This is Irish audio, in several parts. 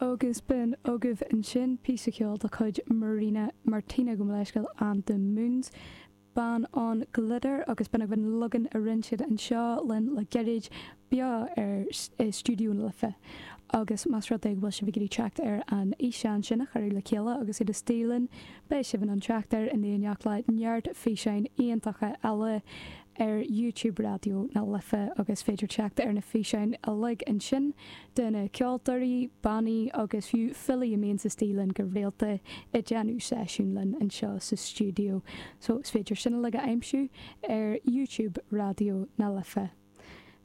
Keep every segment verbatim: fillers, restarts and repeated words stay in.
Agus b'in agaibh ansin píosa ceoil de chuid Marina Martina gabh mo leithscéal and the Moons. Bean an Glitter agus b'in agaibh an leagan a rinne siad anseo linn le gairid beo ar i Stiúideo na Life. Agus más rud é go bhfuil sibh ag iarraidh teacht ar an fhíseán sin a cuireadh le chéile agus iad istigh linn, beidh sibh in ann teacht air in éineacht le neart físeáin iontacha eile ar YouTube Raidió na Life agus féidir teacht ar na físeáin uilig ansin de na ceoltóirí, bannaí agus fiú filí a mbíonn istigh linn go rialta ag déanamh seisiún linn anseo sa stiúideo. So is féidir sin uilig a aimsiú ar YouTube Raidió na Life.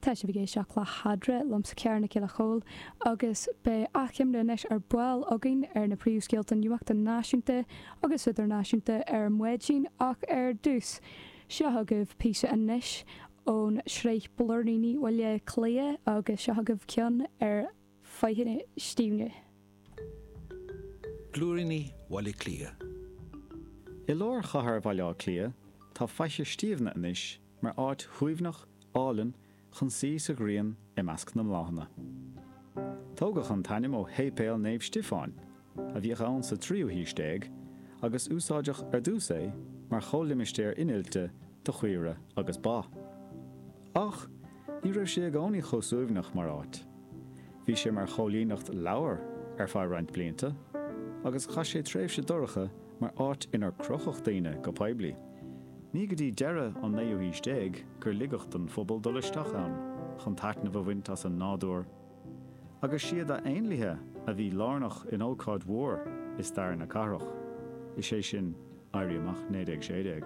Tá sibh ag éisteacht le hEadra liomsa Ciara Nic Giolla Chóill agus beidh achoimre anois ar ball againn ar na príomhscéalta nuachta náisiúnta agus idirnáisiúnta ar maidin ach ar dtús. Seo agaibh píosa anois ón sraith Blúiríní Bhaile Átha Cliath agus seo agaibh ceann ar Faiche Stiabhna. Blúiríní Bhaile Átha Cliath. I lár chathair Bhaile Átha Cliath tá Faiche Stiabhna anois mar áit shuaimhneach álainn chun suí sa ghrian i measc na mbláthanna. Tógadh an t-ainm ó Shéipéal Naomh Stiofáin, a bhíodh ann sa tríú haois déag, agus úsáideadh ar dtús é mar chomhlimistéar innilte do chaoire agus ba. Ach ní raibh sé i gcónaí chomh suaimhneach mar áit. Bhí sé mar choilíneacht leabhar ar feadh roinnt blianta, agus chaith sé tréimhse dorcha mar áit inar crochadh daoine go poiblí. Ní go dtí deireadh an naoú haois déag gur ligeadh don phobal dul isteach ann chun taitneamh a bhaint as an nádúr, agus siad a éanlaithe a bhí lárnach in ócáid mhór i stair na cathrach, is é sin Éirí Amach naoi déag sé déag.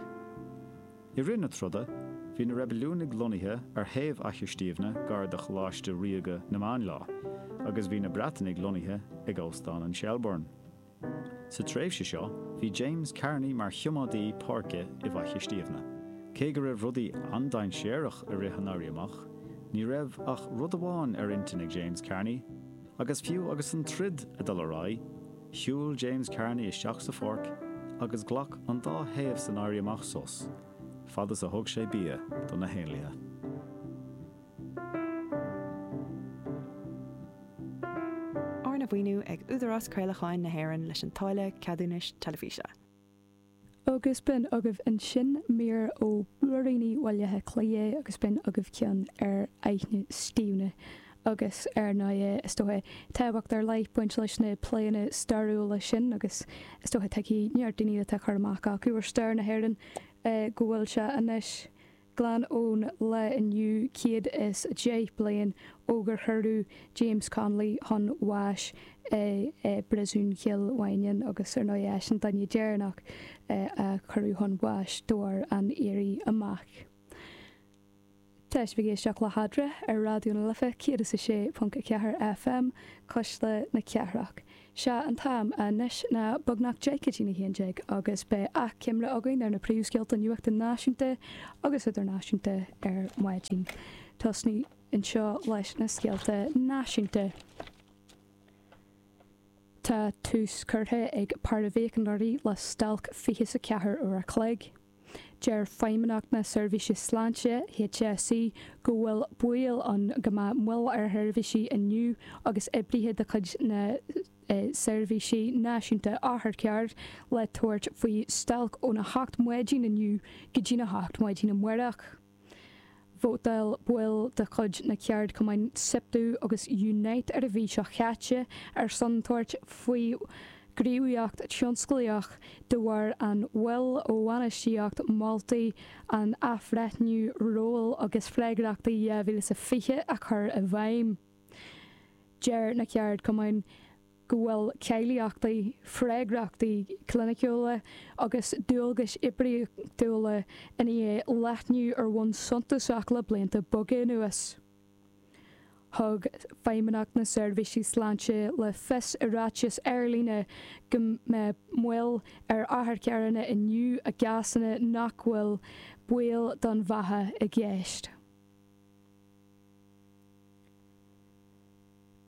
I rith na troda, bhí na reibiliúnaigh lonnaithe ar thaobh Fhaiche Stiabhna gar do Choláiste Ríoga na Máinleá, agus bhí na Breatanaigh lonnaithe ag Óstán an Shelbourne. Sa tréimhse seo, bhí James Kearney mar thiománaí páirce i bhFaiche Stiabhna. Cé go raibh rudaí an-dainséarach i rith an Éirí Amach, ní raibh ach rud amháin ar intinn ag James Kearney, agus fiú agus an troid ag dul ar aghaidh, shiúil James Kearney isteach sa pháirc agus ghlac an dá thaobh san Éirí Amach sos, fad is a thug sé bia do na héanlaithe. Arna mhaoiniú ag Údarás Craolacháin na hÉireann leis an táille ceadúnais teilifíse. Agus b'in agaibh ansin mír ó Blúiríní Bhaile Átha Cliath agus b'in agaibh ceann ar Fhaiche Stiabhna. Agus ar ndóigh, is dócha, tábhacht ar leith baint leis na pléanna stairiúla sin agus is dócha tuigfidh neart daoine atá cur amach acu ar stair na hÉireann go bhfuil sé anois glan ón lá inniu céad is a deich bliain ó gur cuireadh James Connolly chun bháis i bPríosún Chill Mhaighneann agus ar ndóigh eisean duine deireanach a cuireadh chun bháis de bharr an Éirí Amach. Tá sibh ag éisteacht le hEadra ar Raidió na Life céad is a sé ponc a ceathair FM, Cuisle na Cathrach. Sé an t-am anois ná beagnach deich go dtí a haon déag agus beidh achoimre againn ar na príomhscéalta nuachta náisiúnta agus idirnáisiúnta ar maidin. Tosnú anseo leis na scéalta náisiúnta. Tá tús curtha ag paraimhíochaineoirí le stailc fiche is a ceathair uair a chloig. Deir Feidhmeannacht na Seirbhíse Sláinte, HSE, go bhfuil baol ann go mbeadh moill ar sheirbhísí inniu agus oibrithe de chuid na Seirbhíse Náisiúnta Otharcharr le tabhairt faoi stailc óna hocht maidin inniu go dtína hocht maidin amárach. Vótáil baill de chuid na ceardchumainn Siptu agus Unite ar an mhí seo chaite ar son tabhairt faoi ghníomhaíocht thionsclaíoch de bharr an mhoill ó bhainistíocht moltaí an Athbhreithniú Ról agus Freagrachtaí dhá mhíle is a fiche a chur i bhfeidhm. Deir na ceardchumainn go bhfuil cáilíochtaí, freagrachtaí cliniciúla agus dualgais oibríochtúla i ndiaidh leathnú ar bhonn suntasach le blianta beaga anuas. Thug Feidhmeannacht na Seirbhíse Sláinte le fios i ráiteas ar líne go mbeidh moill ar otharcharranna inniu i gcásanna nach bhfuil baol don bheatha i gceist.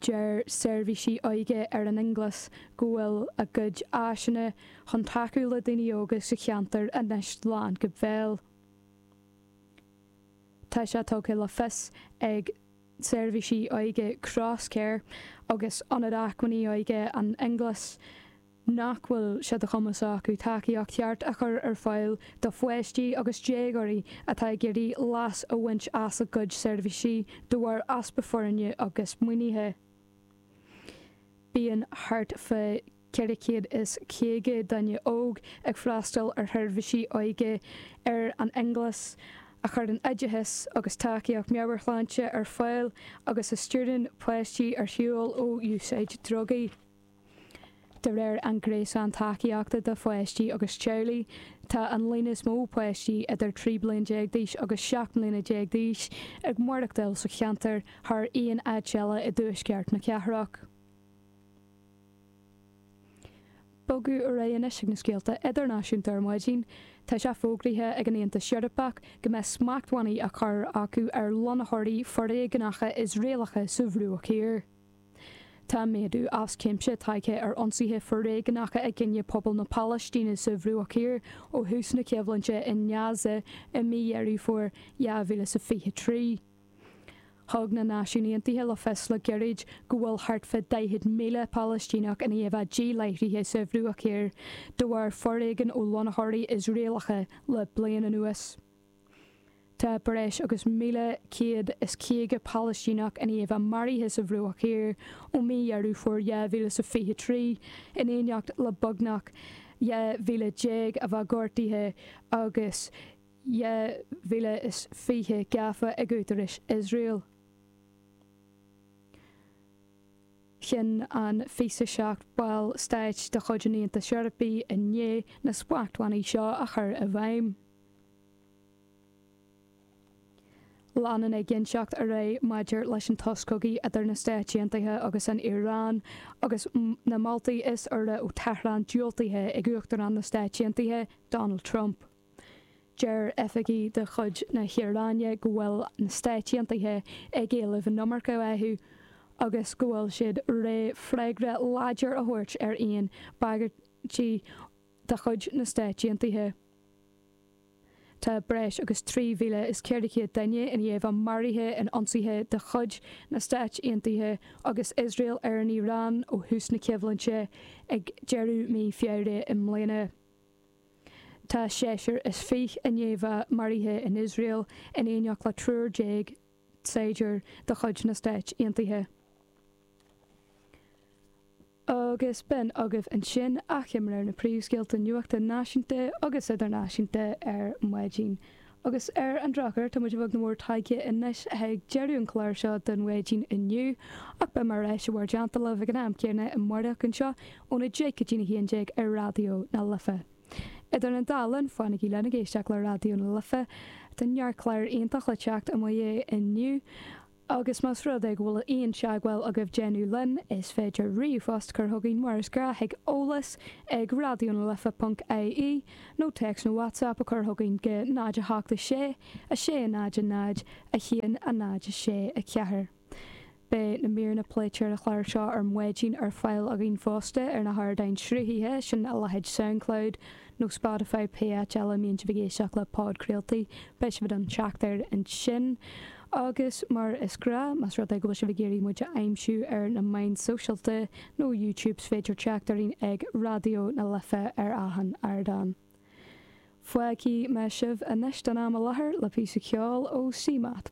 Deir seirbhísí óige ar an Fhionnglas go bhfuil a gcuid áiseanna chun tacú le daoine óga sa cheantar anois lán go béal. Tá sé tugtha le fios ag. seirbhísí óige Crosscare agus Ionad Acmhainní Óige an Fhionnghlais nach bhfuil sé de chumas acu tacaíocht cheart a chur ar fáil do pháistí agus déagóirí atá ag iarraidh leas a bhaint as a gcuid seirbhísí de bharr easpa foirne agus maoinithe. Bíonn thart fá ceithre chéad is caoga duine óg ag freastal ar sheirbhísí óige ar an Fhionnghlais, a chuireann oideachas agus tacaíocht meabhairshláinte ar fáil agus a stiúrann páistí ar shiúl ó úsáid drugaí. De réir an Gréasán Tacaíochta do Pháistí agus Teaghlaigh, tá an líon is mó páistí idir trí bliana déag d'aois agus seacht mbliana déag d'aois ag maireachtáil sa cheantar thar aon áit eile i dtuaisceart na cathrach. Bogadh ar aghaidh anois ag na scéalta idirnáisiúnta ar maidin. Tá sé fógraithe ag an Aontas Eorpach go mbeidh smachtbhannaí á chur acu ar lonnaitheoirí foréigneacha Iosraelacha sa Bhruach Thiar. Tá méadú as cuimse tagtha ar ionsaithe foréigneacha i gcoinne pobal na Palaistíne sa Bhruach Thiar ó thús na coimhlinte i nGaza i mí Dheireadh Fómhair dhá mhíle is a fiche trí. Thug na Náisiúin Aontaithe le fios le gairid go bhfuil thart fá daichead míle Palaistíneach i ndiaidh a bheith díláithrithe sa Bhruach Thiar de bharr foréigean ó lonnaitheoirí Iosraelacha le bliain anuas. Tá breis agus míle céad is caoga Palaistíneach i ndiaidh a bheith maraithe sa Bhruach Thiar ó mí Dheireadh Fómhair dhá mhíle is a fiche trí, in éineacht le beagnach dhá mhíle déag a bheith gortaithe agus dhá mhíle is fiche gafa ag údaráis Iosrael. Chinn an fiche a seacht ball stáit de chuid an Aontais Eorpaigh inné na smachtbhannaí seo a chur i bhfeidhm. Leanann éiginnteacht ar aghaidh maidir leis an sos cogaidh idir na Stáit Aontaithe agus an Iaráin agus na moltaí is úire ó Tehran diúltaithe ag Uachtarán na Stáit Aontaithe, Donald Trump. Deir oifigigh de chuid na hIaráine go bhfuil na Stáit Aontaithe ag éileamh an iomarca uathu agus go bhfuil siad réidh freagra láidir a thabhairt ar aon bhagairtí de chuid na Stáit Aontaithe. Tá breis agus trí mhíle is ceithre chéad duine i ndiaidh a bheith maraithe in ionsaithe de chuid na Stáit Aontaithe agus Iosrael ar an Iaráin ó thús na coimhlinte ag deireadh mí Feabhra i mbliana. Tá seisear is fiche i ndiaidh a bheith maraithe in Iosrael in éineacht le triúr déag saighdiúir de chuid na Stáit Aontaithe. Agus b'in agaibh ansin achoimre ar na príomhscéalta nuachta náisiúnta agus idirnáisiúnta ar maidin. Agus ar an drochuair, tá muid a bheag nó mór tagtha anois chuig deireadh an chláir seo don mhaidin inniu, ach beidh mé ar ais i bhur dteannta libh ag an am céanna amárach anseo óna deich go dtína haon déag ar Raidió na Life. Idir an dá linn, fanaigí linn ag éisteacht le Raidió na Life. Tá neart clár iontach le teacht amach inniu. Agus más rud é go bhfuil aon teagmháil agaibh déanamh linn, is féidir ríomhphost cur chugainn mar is gnáth chuig eolas ag raidionalife ponc ie nó téacs nó WhatsApp a chur chugainn go náid a hocht a sé, a sé náid a náid, a haon a náid a sé a ceathair. Beidh na míreanna pléite ar an chlár seo ar maidin ar fáil againn fosta ar na hardáin sruthaithe, sin a leithéid Soundcloud nó Spotify, pé áit eile a mbíonn sibh ag éisteacht le podchraoltaí, beidh sibh in ann teacht air ansin. Agus mar is gnáth, más rud é go bhfuil sibh ag iarraidh muid a aimsiú ar na meáin sóisialta nó YouTube is féidir teacht orainn ag Raidió na Life ar achan ardán. Fágfaidh mé sibh anois don am i láthair le píosa ceoil ó CMAT.